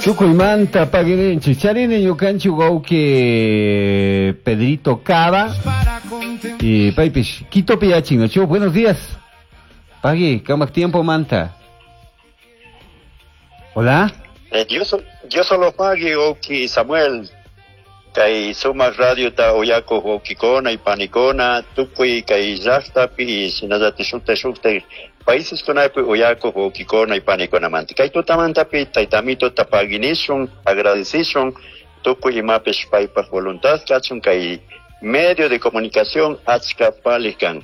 Tukuymanta paguirinchik. Charini ñukanchik wawqi Pedrito Cava. Y paypish Quitopi yachin, ¿no? Buenos días. Pagui, kamak tiempo manta. Hola. Dios solo pagui, wawqi Samuel. Kay sumak radiota uyakuq wawqikuna y panikuna tukuy kay llaqtapi shinallatik shukta shukta paíseskunapi uyakuq wawqikuna y panikunamanta. Kay tutamantapi taytamituta paguinishun, agradecishun tukuy imapish paypaq voluntad kachun kay medio de comunicación achka paliq kan.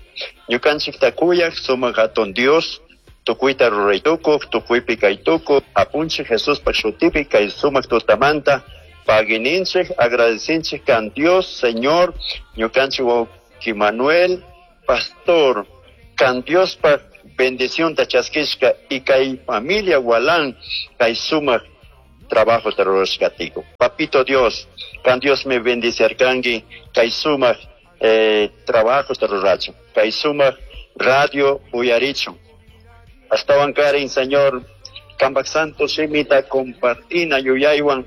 Ñukanchikta kuyaq sumak hatun Dios tukuyta ruraytukuq, tukuypi kaytukuq, apunchik Jesuspaq shutipi kay sumak tutamanta paguininchik, agradecinchik kan Dios, Señor, ñukanchik wawqi Manuel, pastor, kan Diospaq bendición ta chaskishka y kay familia Gualán, kay sumak trabajo rurashkatiku. Papito Dios, kan Dios me bendicerkanki, kay sumak trabajo rurachun, kay sumak radio uyarichun. Astawan karin, Señor, kambak santo simita compartina yuyaywan,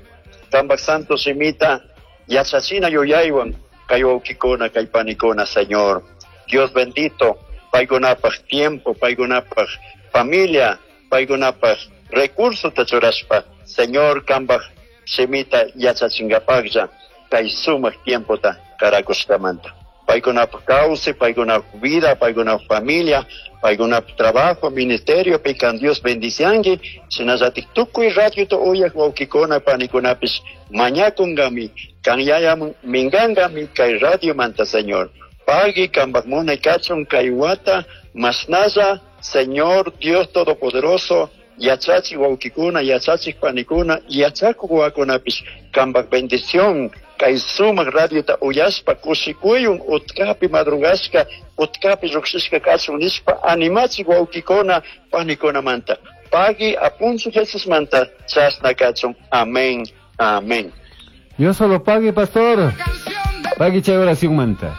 kambak santo simita yachachina yuyaywan, kay wawqikuna, kay panikuna, Señor. Dios bendito, paykunapaq tiempo, paykunapaq familia, paykunapaq recurso tachurashpa, Señor, kambak simita yachachingapaqlla, kay sumak tiempota karakushkamanta. Paykunapaq kawsay, paykunapaq vida, paykunapaq familia, paykunapaq trabajo, ministerio, pican Dios bendicianki, shinallatik tukuy radiota uyaq wawqikuna, panikunapish mañakungami, kan yayaman minkankami kay radio manta, Señor. Pagui kambak munay kachun kay wata, masnalla, Señor Dios Todopoderoso, yachachi wawqikuna, yachachik panikuna, yachakuq wawakunapish kambak bendición, kay sumak radiota uyashpa kushikuyun utkapi madrugashka, utkapi lluqshishka kachun nishpa animachik wawqikuna, panikunamanta. Pagui apunchik Jesusmanta chashna kachun. Amén, amén. Dios solo pague, pastor. Pagui chay oración manta.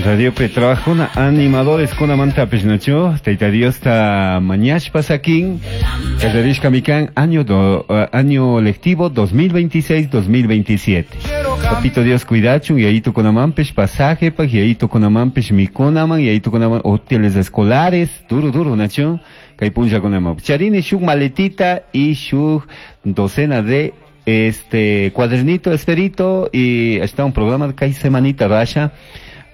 Radio P trabajo animadores con amanta pechnacho. Taita Dios ta mañash pasakin. Kallarishka mikan año lectivo 2026-2027. Papito Dios cuidachun y ahí tu con amampes pasaje pa y ahí tu con amampes mikonaman y ahí tu con hoteles escolares duro duro nacho. Kaipunja con amam. Charini shuk maletita y shuk docena de este cuadernito esperito y está un programa de kai semanita rasha.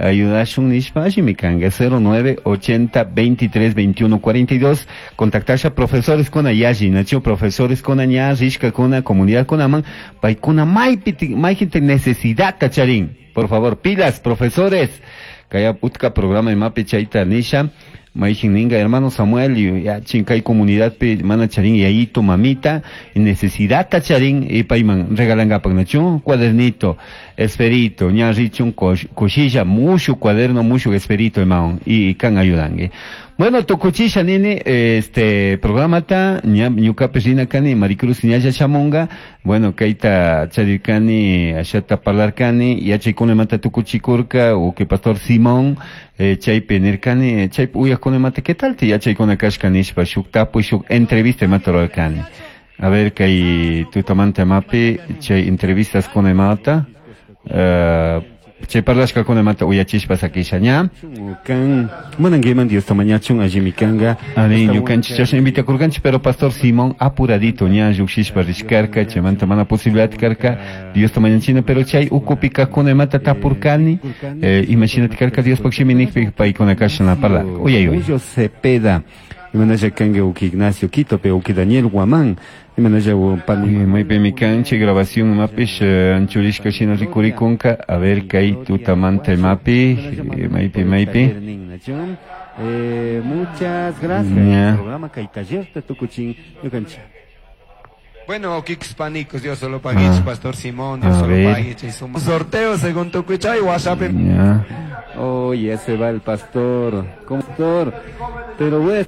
Ayudashun nishpa ashimikanga 09 80 23 21 42. Contactarse a profesores con ayaji, nacho profesores con aña, rishka con la comunidad con aman, paikuna maipiti, maijinte necesidad tacharín. Por favor, pilas, profesores. Kaya putka programa de mapi chaita nisha. Maijin ninga hermano Samuel y ya chincay comunidad pe mana charín y ahí tu mamita necesidad tacharín y paiman regalanga pagnachu cuadernito esferito ña richun cochilla mucho cuaderno mucho esferito hermano y can ayudangue. Bueno, tukuchisha nini este programa ta ña ñuka pesina kani Maricruz ñaya chamonga bueno kaita chadirkani ashata parlarkani yachaykuna mata tukuchikurka o que pastor Simón chaypi nirkani chaypi uyakuna mata qué tal te yachaykuna kashka nishpa shuk tapuy shuk entrevista mata rurarkani. A ver kay tutamanta mapi chay entrevistas kuna mata chay parlashka kuna mata uyachishpa sakisha ña. Kan munanguiman Dios tamañachun allimikanga. Ani ñukanchik chashna invitakurkanchik pero pastor Simón apuradito ña lluqshishpa rishkarka chaymanta mana posibilidad karka Dios tamañachina pero chay ukupi kaqkuna imata tapurkani imashinati karka Diospaq shimi nikpi paykuna kashna parlarka. Uyay, uyay. Julio Cepeda imanalla kanka uki Ignacio Quito pe uki Daniel Guamán imanalla pani maypi mikanchik grabación mapish anchurishka shina rikurikunka a ver kay tutamanta mapi maypi maypi. Muchas gracias. Ya. Programa kay taller ta tukuchin ñukanchik. Bueno, Kix Panicos, Dios solo pague, Ah. Pastor Simón, Dios A solo ver. pague, che, suma. Sorteo según tu cuchay, WhatsApp. Ya. Oh, ya se va el pastor. ¿Cómo, pastor? Pero bueno.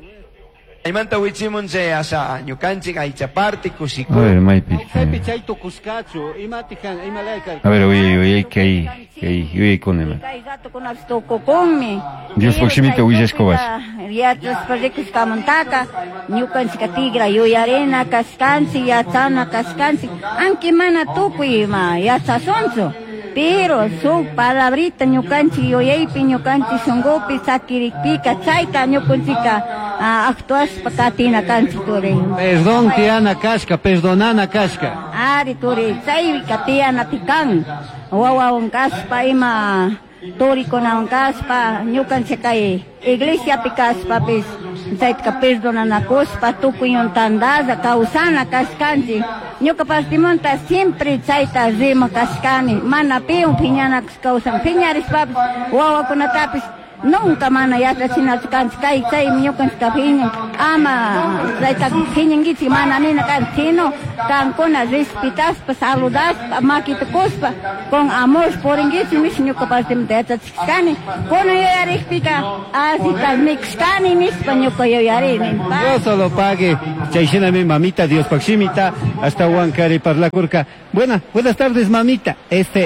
Chaymanta wichimun chay asha ñukanchik aychaparti A ver, maypi. Chaypi chay tukushkachu, imatikan, imalayka. A ver, uyay, uyay, kay, kay, uyaykuna ima. Kay ratukunapish tukukunmi. Diospaj shimita willashka washa. Yachashpa rikushkamantaka ñukanchika tigra yuyarina kashkanchik, yachana kashkanchik, aunque mana tukuy ima yachashunchu. Pero shuk palabrita ñukanchik yuyaypi, ñukanchik shunkupi sakirikpika chayta ñukanchika actuashpa katina kanchik turi. Perdón tiyana kashka, perdonana kashka. Ari turi, chayka tiyanapi kan. Wawawan kashpa ima turikunawan kashpa, ñukanchik kay iglesiapi kashpapis chayta perdonanakushpa tukuywan tandalla kawsana kashkanchik. Ñuka partimanta siempre chayta rima kashkani, mana piwan phiñanakush kawsan, phiñarishpapis wawakunatapis nunca mana yachachinachu kanchik, kay chaymi ñukanchik phiñan, ama chayta phiñankichik mana nina kanchik, sino kankuna respetaspa, saludaspa, makita kushpa, con amor purinkichik nish ñuka partimanta yachachishkani. Kunan yuyarikpika allita mikushkani nishpa ñuka yuyarini. Dios solo pague. Chay shinami mamita, Diospaj shimita, hasta Huancari parlakurka. Buenas tardes, mamita.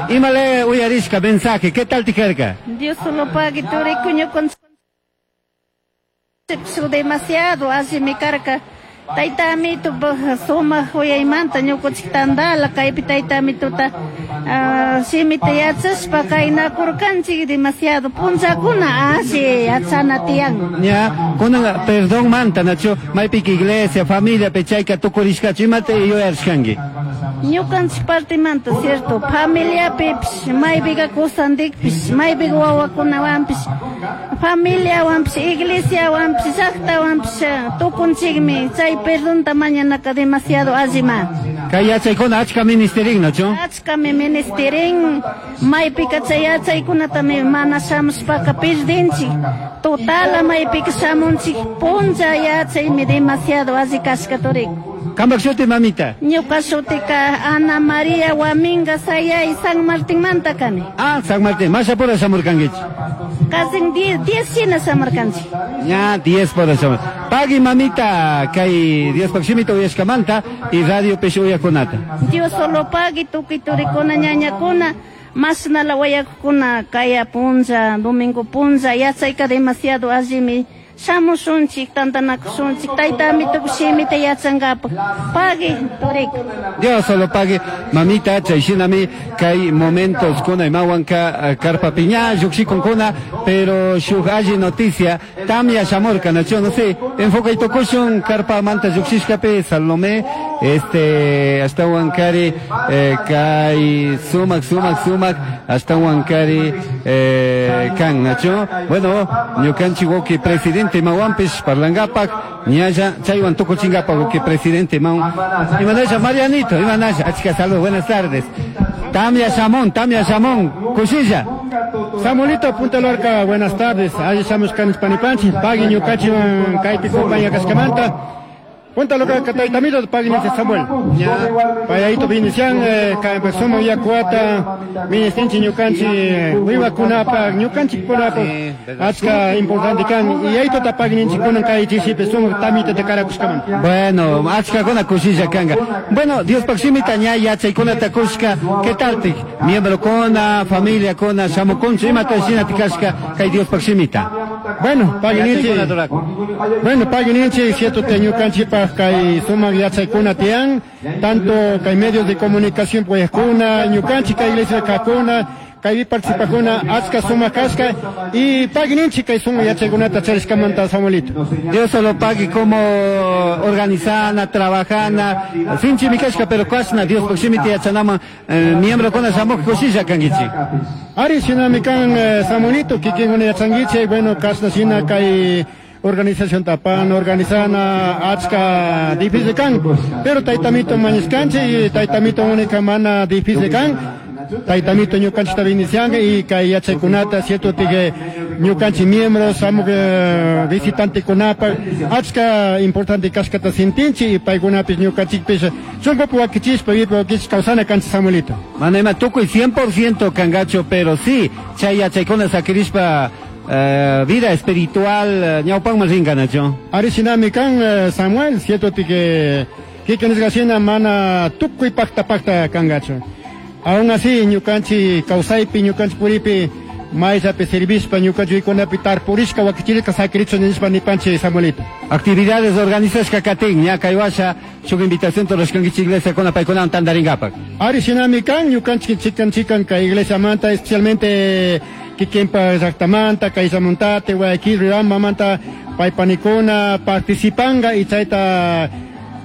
Imale uyarishka mensaje, ¿qué tal tijerka? Dios solo pague, turiku ñukan demasiado así mi carga. Tayta amito sumaq uyaymanta ñukanchik tandala kaypi tayta amituta, shimita yachashpa kaynakurkanchik demasiado punchakuna alli yachana tiyan. Ña, kunan perdón manta, Nacho, maypika iglesia, familia, pechayka tukurishkachu, imata yuyarishkanki? Ñukanchik partimanta, cierto, familiapipish, maypika kusantikpish, maypika wawakunawanpish, familiawanpish, iglesiawanpish, llaqtawanpish, tukunchikmi, chay perdonta mañanaka demasiado allima. Kay yachaykuna achka ministerin, Nacho? Achkami ministerin, maypika chay yachaykunatami mana shamushpaka perdinchik, totala maypika shamunchik, puncha yachaymi demasiado alli kashka turik. Kambak shuti, mamita? Ñuka shutika Ana María Huaminga Sayay, San Martín manta kani. Ah, San Martín, mashapura shamurkankichik. Casi 10 shina shamurkanchik. Ña, 10 pura shamur. Pagui, mamita, kay Diospaj shimita uyashkamanta y radio pish uyakunata. Dios solo pagui, tukuy turikuna, ñañakuna, mashnala wayakuna, kaya punlla, domingo punlla, yachayka demasiado allimi. Shamushunchik, tantanakushunchik, tayta amitup shimita yachankapak. Pagui, turik. Dios solo pague, mamita, chay shinami, kay momentos kuna imawanka, karpa piña, lluqshikunkuna, pero shuk alli noticia, tamya shamurka, nacho, no sé, enfoca y tokushun, karpa manta lluqshishkapi, Salomé, hasta Huancari, kay sumak, sumak, sumak, hasta Huancari, kan, nacho, bueno, ñukanchik wawqi presidente Mahuampish, parlangapak, ñalla, chaywan tukuchingapak, wawqi presidente Mahuam. Imanasha, Marianito, imanasha, achka salud, buenas tardes. Tamya Shamón, Tamya Shamón, kushilla. Samuelito, Punta Lorca, buenas tardes. Ahí estamos con Panipanchi, pagui ñukachiwan kaypi compañía Cascamanta. Punta Lorca, Cataitamito, pagui ñukachi Samuel. Ya. Payayito vinician, ka empezamos ya cuata, ministinchi ñukanchi, wiwakunapa, ñukanchi kunapa, Sí, verdad. achka importante kan, y ahí tota pagui ninchi kunan kay chisipe, somos tamita de Caracushkamanta. Bueno, achka kuna kushilla kanga. Bueno, Dios pakshimita ña yachaykuna takushka, ¿qué tal tik? Miembro kuna, familia kuna, shamukunchu, imata shina tikashka, kay Dios pakshimita. Bueno, pagui ninchi. Yachaykuna turaku. Bueno, pagui ninchi, cierto te ñukanchi pa kay sumak yachaykuna tiyan, tanto kay medios de comunicación pues kuna, ñukanchi kay iglesia kakuna, kay participakuna, achka sumak kashka, y pagui ninchi kay sumak yachaykunata charishkamanta, Samuelito. Dios solo pague como organizana, trabajana, sinchi mi kashka, pero kashna, Dios pakshimita yachanama, miembro kuna shamuk kushilla kankichi. Ari shinami kan Samuelito, kikin una yachanguichi, bueno, kashna shina kay organización tapan, organizana, achka difícil kan, pero taytamito mañiskanchi y taytamito única mana difícil kan, taytamito ñukanchi tabinicianga y kay yachaykunata, cierto tige ñukanchi miembros, amo visitante kunapa, achka importante kashkata sintinchi y paykunapis ñukanchikpis, shunkupi wakichispa, vipi wakichis kawsana kanchi Samuelito. Mana ima tukuy 100% kangacho, pero sí, chay yachaykuna sakirishpa Vida espiritual ñawpaqman rinkanachu. Ari shinami kan Samuel, cierto que kikin mana tukuy pacta pacta kangachu. Aún así ñukanchi kawsaypi ñukanchi puripi mayllapi servishpa ñukanchi kunapi tarpurishka wakichirishka sakirichu nishpa nipanchi Samuelito. Actividades organizashka katin ña kaywasha shuk invitación rurashkankichik iglesia kuna paykunawan tantarinkapak. Ari shinami kan ñukanchik chikan chikan kay iglesiamanta especialmente kikinpa llaqtamanta kayllamuntate Guayaquil Riobambamanta paypanikuna participanga y chayta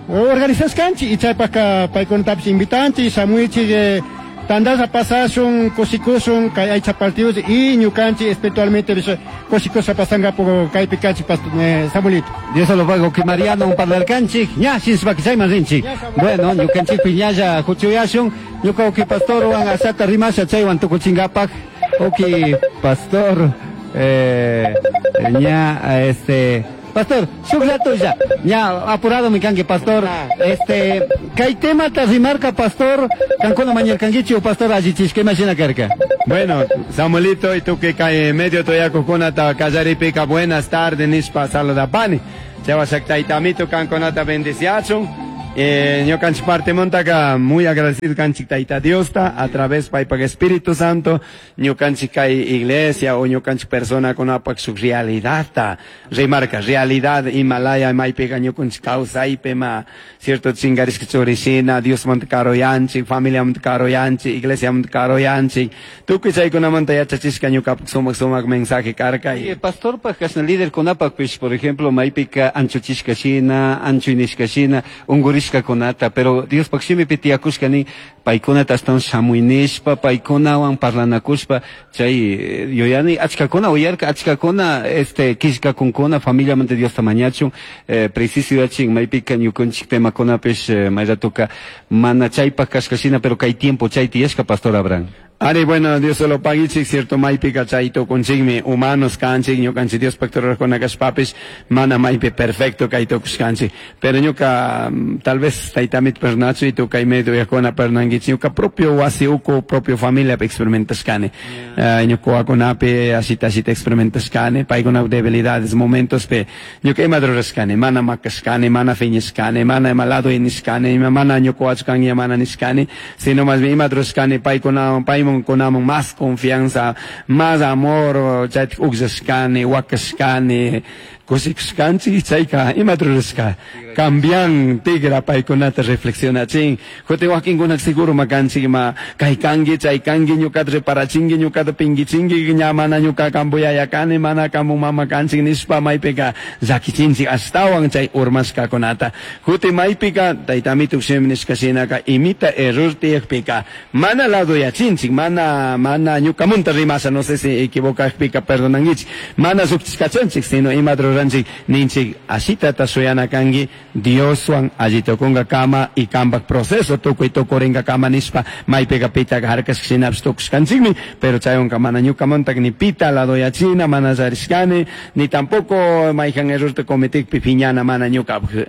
organizashkanchik y chaypaka paykunatapish invitanchik shamuichik tandalla pasashun kushikushun kay aycha partidos y ñukanchik espiritualmente kushikushpa pasankapu kaypi kanchik Samuelito. Dios lo pago que Mariano un parlarkanchik ña shinshpaki chayman rinchik. Bueno, ñukanchikpi ñalla huchuyashun ñuka uki pastorwan ashata rimasha chaywan tukuchinkapak. Uki pastor ña pastor, shuk ratolla, ña apurado mi kanki pastor, kay temata rimarka pastor, kankuna mañarkankichi o pastor allichishka imashina karka. Bueno, Samuelito, y tú que kay medio toyakukunata kallaripika buenas tardes nishpa saludapani. Chawashak taytamito kankunata bendiciachun. Ñukanchik parte montaka muy agradecido kanchik tayta Diosta a través paypak Espíritu Santo ñukanchik kay iglesia o ñukanchik persona kunapak shuk realidadta rimarka realidad Himalaya maypiqa ñukanchik kawsaypi ma cierto chinkarishka churishina Diosmanta karuyanchik familiamanta karuyanchik iglesiamanta karuyanchik tukuy chaykunamanta yachachishka ñukapak sumak sumak mensaje karka. Pastorpak kashna líder kunapakpish por ejemplo maypika anchuchishka shina anchuynishka shina ungurishka kunata, pero Diospak shimipi tiyakushka nin paykunata ashtawan shamuynishpa paykunawan parlanakushpa chay yuyani achkakuna uyarka achkakuna killkakunkuna familiamanta Diosta mañachun preciso yuyachin maypika ñukanchik temakunapish mayratuka mana chaypak kashka shina pero kay tiempo chay tiyashka pastor Abraham. Ari, bueno, Dios se lo paguichik, cierto, maypika chayto kunchikmi, humanos kanchik, ñukanchik Diospaq rurajkuna kashpapish, mana maypi perfecto kaytukushkanchik. Pero ñuka, tal vez taytamit pernachu y tukay medio yakuna pernankichik, ñuka propio wasi uku, propio familia experimentashkani. Ñuka wakunapi, ashita ashita experimentashkani, paykuna debilidades, momentos pe, ñuka ima rurashkani, mana makashkani, mana fiñashkani, mana ima lado nishkani, mana ñuka wachkangi, mana nishkani, sino más bien ima rurashkani, paykuna, paymun kunamon más confianza, más amor, chaytik ukllashkani, wakashkani, kushikushkanchik, chayka ima rurashka, cambian tigra paykunata reflexionachin, jutin wakinkunak seguro makanchik ma kaykanki, chaykanki, ñukata reparachinki, ñukata pinkichinki, ña mana ñuka kampu yaya kani, mana kampu mama kanchik nishpa maypika llakichinchik ashtawan chay urmashkakunata. Jutin maypika taytamituk shimi nishka shinaka imita error tiyakpika mana ladoyachinchik, mana mana ñukamunta rimasha, no sé si equivocakpika perdonankichik, mana llukchishkachanchik, sino ima ruranchik ninchik ashitata shuyana kanki Dioswan allitukunka kama y kampak proceso tukuy tukurinka kama nishpa maypika pitaka harkashka shinapish tukushkanchikmi, pero chaywanka mana ñukamuntak ni pita ladoyachina, mana charishkani, ni tampoco mayjan errorta cometikpi piñana mana ñukapak.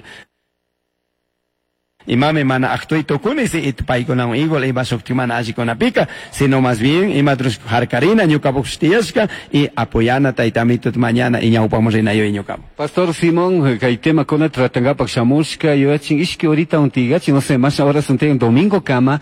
Imami mana actuy tukuni si it paykunawan igual ima shukti mana allikunapika, sino más bien ima harkarina ñukapak tiyashka y apoyana taytamitut mañana y ñawpaman rinayo ñukapak. Pastor Simón, kay tema kuna tratankapak shamushka yuyachin ishki horita untigachin, no sé, más horas untigan domingo kama,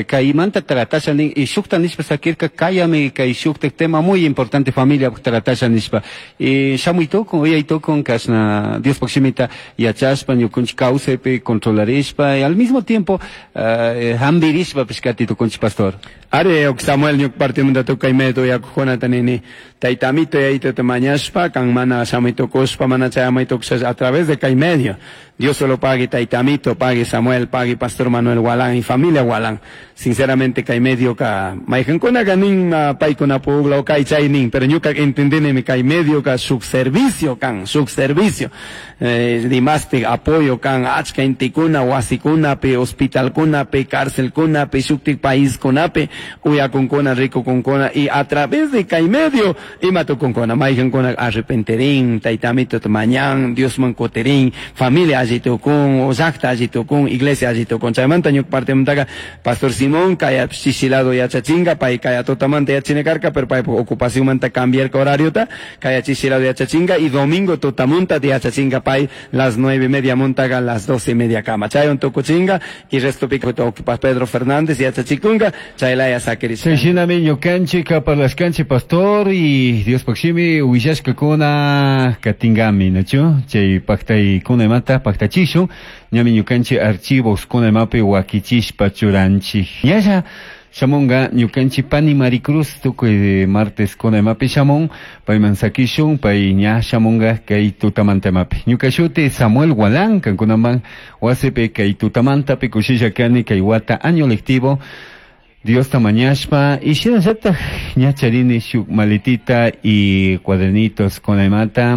kaymanta tratasha nin y shukta nishpa sakirka kayami kay shukta tema muy importante familia tratasha nishpa. Y shamuy tukun, uyay tukun kashna Diospaq shimita yachashpa ñukunchik kawsaypi controlarishpa y al mismo tiempo hambirishpa pishkati tukunchik pastor. Ari, ok Samuel ñuk partimanta tukay medio yakukunata nini taytamito yaytata mañashpa kan mana shamuy tukushpa mana chayamuy tukusha a través de kay medio. Dios solo pague taytamito, pague Samuel, pague Pastor Manuel Gualán y familia Gualán. Sinceramente kay medio ka mayqankunaka nin paykuna pugla o kay chay nin, pero ñuka entendinimi kay medio ka shuk servicio kan, shuk servicio. Dimastik apoyo kan achka intikuna wasi Wasikunapi, hospitalkunapi, carcelkunapi, shuktik paiskunapi, uyakunkuna, rikukunkuna, y a través de kay medio, ima tukunkuna, maykankuna arrepenterin, taytamito mañan, Diosman kutirin, familia alli tukun, o llaqta alli tukun, iglesia alli tukun. Chaymanta ñuka partemantaqa Pastor Simón kaya chichilado yachachinga, pay kaya tutamanta yachina karka, pero pay ocupacionmanta cambiarka horariota, kaya chichilado yachachinga, y domingo tutamunta yachachinga pay las 9:30 montaga las 12:30 kama. Chaywan tukuchinga, y resto pico ocupa Pedro Fernández yachachikunga, chaylaya sakirishka. Shinami ñukanchik parlashkanchik pastor y Dios pakshimi willashkakuna katingami, nachu? Chay paktaykuna imata paktachishun, ñami ñukanchik archivos kuna imapi wakichishpa churanchik. Ñalla shamunga ñukanchik pani Maricruz tukuy martes kuna imapi shamun, payman sakishun, pay ña shamunga kay tutamanta imapi. Ñuka shuti Samuel Gualán, kankunaman wasipi kay tutamantapi kushilla kani kay wata año lectivo. Dios tamañashpa y shinallataq ña charini shuk maletita y cuadernitos con imata.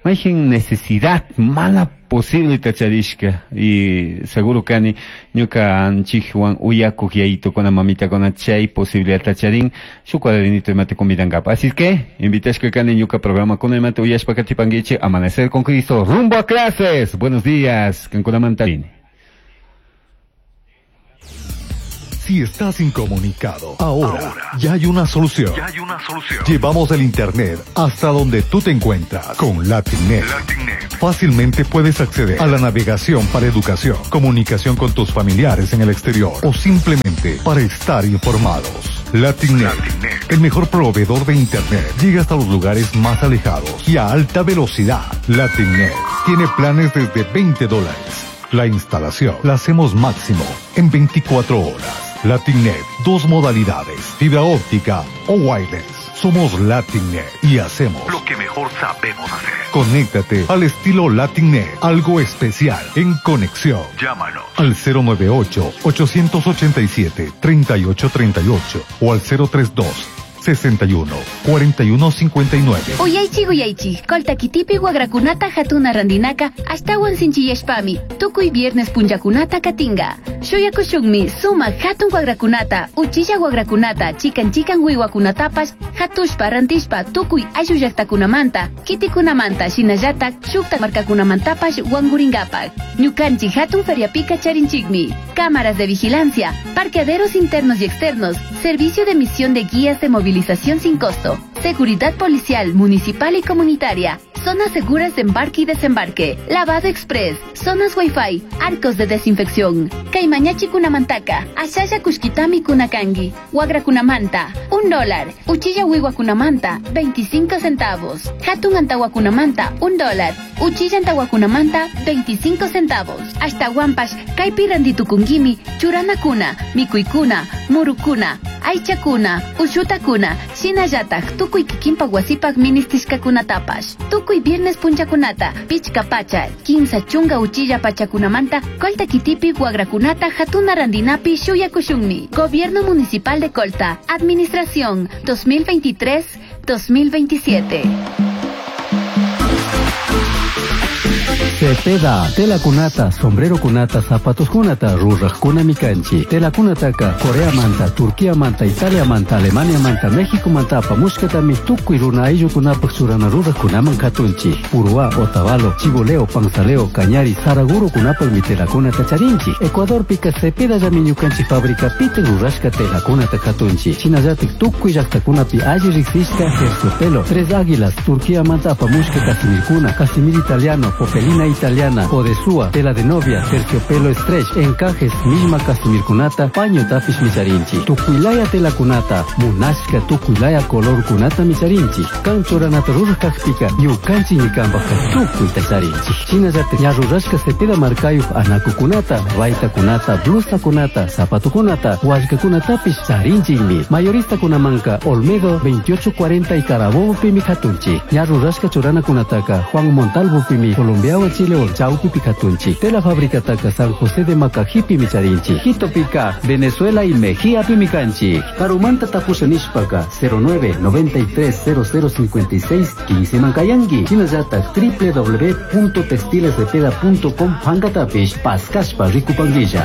Mayjin necesidad mala posible tacharishka y seguro kani ñuka anchikwan uyakuq yayito con la mamita con chay posibilidad tacharin su cuadernito imate convidankapa. Así que invitashka kani ñuka programa con imate uyashpa katipanguiche Amanecer con Cristo rumbo a clases. Buenos días, kankunamanta. Si estás incomunicado, ahora ya hay una solución. Llevamos el internet hasta donde tú te encuentras con LatinNet. Fácilmente puedes acceder a la navegación para educación, comunicación con tus familiares en el exterior o simplemente para estar informados. LatinNet, el mejor proveedor de internet, llega hasta los lugares más alejados y a alta velocidad. LatinNet tiene planes desde $20. La instalación la hacemos máximo en 24 horas. LatinNet, dos modalidades, fibra óptica o wireless. Somos LatinNet y hacemos lo que mejor sabemos hacer. Conéctate al estilo LatinNet, algo especial en conexión. Llámanos al 098-887-3838 o al 032 61 41 59. Uyaychik uyaychik, Colta kitipi wagrakunata hatuna randinaka ashtawan sinchiyashpami, tukuy viernes punllakunata katinga. Shuyakushunmi sumak hatun wagrakunata, uchilla wagrakunata, chikan chikan wiwakunatapash, hatushpa rantishpa tukuy ayllu llaqtakunamanta, kitikunamanta, shinallatak shukta markakunamantapash wanguringapak. Ñukanchik hatun feriapika charinchikmi, cámaras de vigilancia, parqueaderos internos y externos, servicio de emisión de guías de movilización sin costo, seguridad policial, municipal y comunitaria, zonas seguras de embarque y desembarque, lavado express, zonas wifi, arcos de desinfección. Kaymañachi kunamantaka, ashalla kushkitami kunakangi, wagra kunamanta, $1, uchilla wiwa kunamanta, 25 centavos, hatun antawa kunamanta, $1, uchilla antawa kunamanta, 25 centavos. Hasta guampash, kaypi randitukungimi, churanakuna, mikuykuna, murukuna, aychakuna, ushutakuna, shinallatak, tukuy kikinpak wasipak ministishkakunatapash. Tukuy viernes punchakunata, pichka pacha, 15 chunga uchilla pachakunamanta, Colta kitipi wagrakunata hatuna randinapi shuyakushunmi. Gobierno Municipal de Colta, Administración 2023-2027. Cepeda, tela kunata, sombrero kunata, zapatos kunata, rurajkuna mikanchi. Tela kunataka, Corea manta, Turquía manta, Italia manta, Alemania manta, México manta, apamushkatami, tukuy runa ayllukunapak churana rurajkunaman katunchi. Uruá, Otavalo, Chiboleo, Panzaleo, Cañari, Saraguro kunapakmi tela kunata charinchi. Ecuador pika Cepeda llami ñukanchik fábrica pite rurashka tela kunata katunchi. Shinallatik tukuy llaqtakunapi alli riqsishka terciopelo, Tres Águilas, Turquía manta apamushka casimirkuna, casimir italiano, popelina italiana, odesúa, tela de novia, terciopelo stretch, encajes, misma casimirkunata, paño tapis micharinchi, tukuylaya tela kunata, munashka tukuylaya color kunata micharinchi, kanchoranata rurajkajpika, ñukanchik ñikanpajka tukuyta charinchi. Shinallatik ña rurashka Cepeda markayuq anakukunata, baytakunata, blusakunata, zapatukunata, wallkakunatapis charinchikmi. Mayoristakunamanka Olmedo 2840 y Carabobo pimi katunchi. Ña rurashka churanakunataka Juan Montalvo pimi Colombiawa Cotopaxi León chawpipi katunchik. Tela fabricataka San José de Macajipimi charinchik. Quitopika Venezuela y Mejía-pimi kanchik. Karumanta tapusha nishpaka 09 93 0056 15 mankayanki. Shinallatak www.textilescepeda.com pankatapish paskashpa rikupankilla.